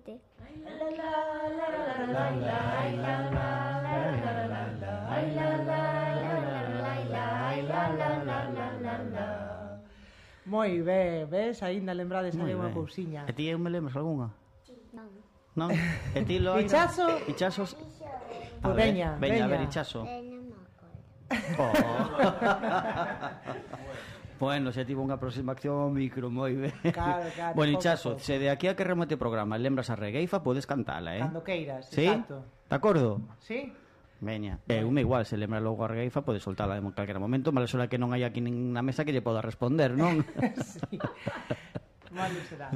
Cante. Moi ben, ves? Aínda lembrades aí unha cousiña. E ti me lembras algunha? Non. Non? E ti lo Ichazo? Ichazos? Pois veña, veña. A ver, Ichazo. Non me acordo. Bueno, xa tivo unha aproximación ao micro, moi ben. Claro, Bueno, Ichazo, se de aquí a que remate o programa lembras a regueifa, podes cantala, Cando queiras, ¿Sí? exacto. De acordo? Sí? Veña, me igual, se lembra logo a regueifa, podes soltala en calquera momento, mala sola que non hai aquí na mesa que lle poda responder, non? Sí. Malo será.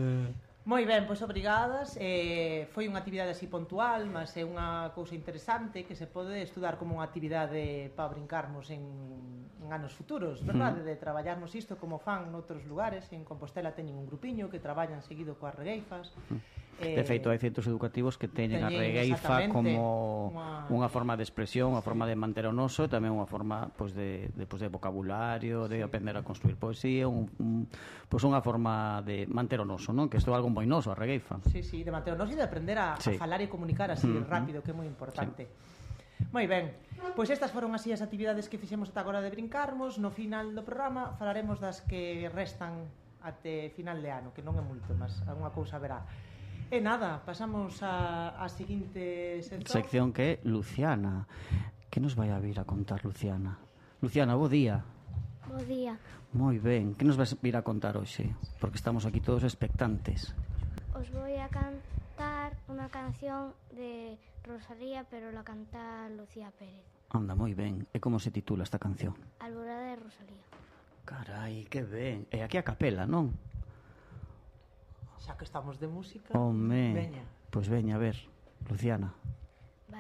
Moi ben, pois obrigadas. Foi unha actividade así puntual, mas é unha cousa interesante que se pode estudar como unha actividade para brincarmos en anos futuros, verdade? De traballarmos isto como fan noutros lugares. En Compostela teñen un grupiño que traballan seguido coas regueifas. De feito, hai centros educativos que teñen a regueifa como unha forma de expresión, unha forma de manter o noso, e tamén unha forma de vocabulario, de aprender a construir poesía, unha forma de manter o noso, non? Que isto é algo moi noso, a regueifa. Sí, sí, de manter o noso e de aprender a falar e comunicar así rápido, que é moi importante. Moi ben, pois estas foron así as actividades que fixemos ata agora de brincarmos. No final do programa falaremos das que restan até final de ano, que non é moito, mas alguna cousa verá. E nada, pasamos a seguinte sección que é Luciana. Que nos vai a vir a contar Luciana? Luciana, bo día. Bo día. Moi ben, que nos vas vir a contar hoxe? Porque estamos aquí todos expectantes. Os voy a cantar unha canción de Rosalía, pero la canta Lucía Pérez. Anda, moi ben. E como se titula esta canción? Alborada de Rosalía. Carai, que ben. E aquí a capela, non? Xa que estamos de música. Home, veña. Pois veña, a ver, Luciana.